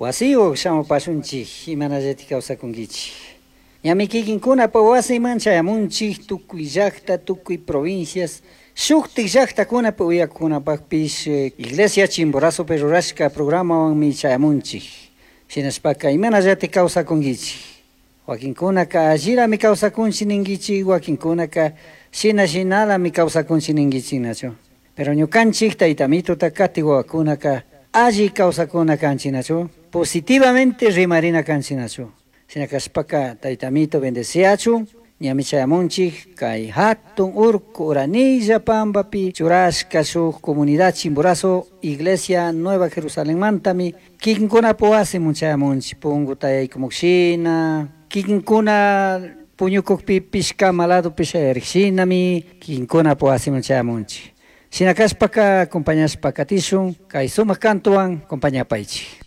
Wasiyuq shamupashunchik, imanallati kawsakunkichik. Ñami kikinkunapa wasiman chayamunchik tukuy llaqta, tukuy provincias, shuktik llaqtakunapi uyakunapaqpish Iglesia Chimborazopi rurashka programawanmi chayamunchik. Shinashpaka imanallati kawsakunkichik. Wakinkunaka allirami kawsakunchik ninkichik, wakinkunaka shina shinalami kawsakunchik ninkichik nachu. Pero ñukanchik tayta Amituta katik wawakunaka alli kawsakuna kanchik nachu, positivamente rimarina kanchik nachu. Shina kashpaka tayta Amito bendeciachun, ñami chayamunchik kay hatun urku Uranilla Pampapi churashka shuk comunidad Chimborazo Iglesia Nueva Jerusalenmantami kikinkunapa wasiman chayamunchik punkuta yaykumukshina, kikinkuna puñukukpipish cama ladopi shayarikshinami kikinkunapa wasiman chayamunchik. Shina kashpaka acompañashpa katishun kay sumak kantuwan acompañapaychik.